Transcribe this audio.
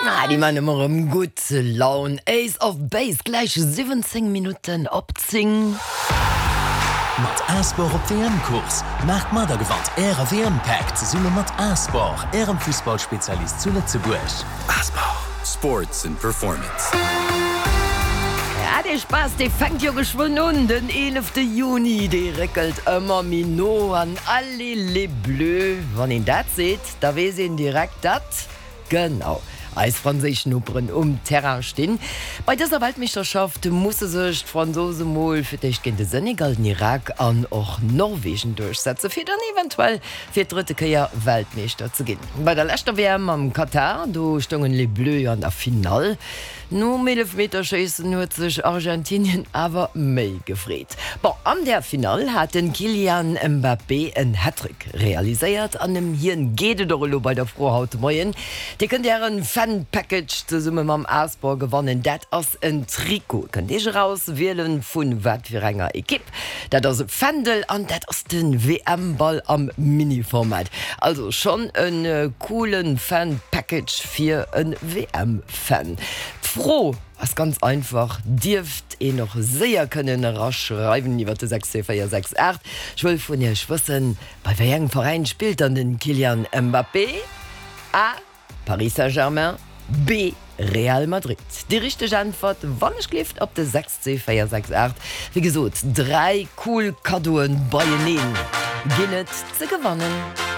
Ah, déi man ëmmer erëm gutt Laun. Ace of Base, gläich 17 Minutten op 10. Mat A-Sport op WM-Kurs! Maacht mat a gewannt Äre WM-Pack zesumme mat A-Sport, Ärem Fussballspezialist zu Lëtzebuerg. A-Sport, Sports and Performance. Ja, dee Spaass, dee fänkt jo geschwënn un, den 11 Juni, dee réckelt ëmmer méi no an allez les bleus, wann een dat seet, da weess een direkt, datt. Genau, eis franséisch Noperen um Terrain stinn. Bei dëser Weltmeeschterschaft musse sech d'Fransose mol fir d'éischt géint de Senegal, den Irak an och Norwegen duerchsetze fir dann eventuell fir d'drëtte Kéier Weltmeeschter ze ginn. Bei der leschter WM am Katar, do stoungen Les Bleus jo an der Finall. Nom Eelefmeterschéissen huet sech Argentinien awer méi gefreet. Bon, an där Finall hat den Kylian Mbappé en Hattrick realiséiert an ëm hien geet et och elo bei der Fro haut de Moien. Dir kënnt ären Fan Package zesumme mam Asport gewannen. Dat ass en Trikot, kënnt iech eraus wielen vun wat fir enger Ekipp. Dat ass e Fändel an dat ass den WM Ball am Mini-Format. Also schonn en coolen Fan Package fir en WM Fan. D'Fro ass ganz einfach, dierft een och séier kënnen eraschreiwen iwwer de 62468. Ech wëll vun iech wëssen, bei wéi engem Veräin spillt dann den Kylian Mbappé? A, Paris Saint-Germain, B, Real Madrid. Déi richteg Äntwert, wann ech gleeft, op de 62468. Wéi gesot, 3 cool Kaddoen beieneen ginn et ze gewannen.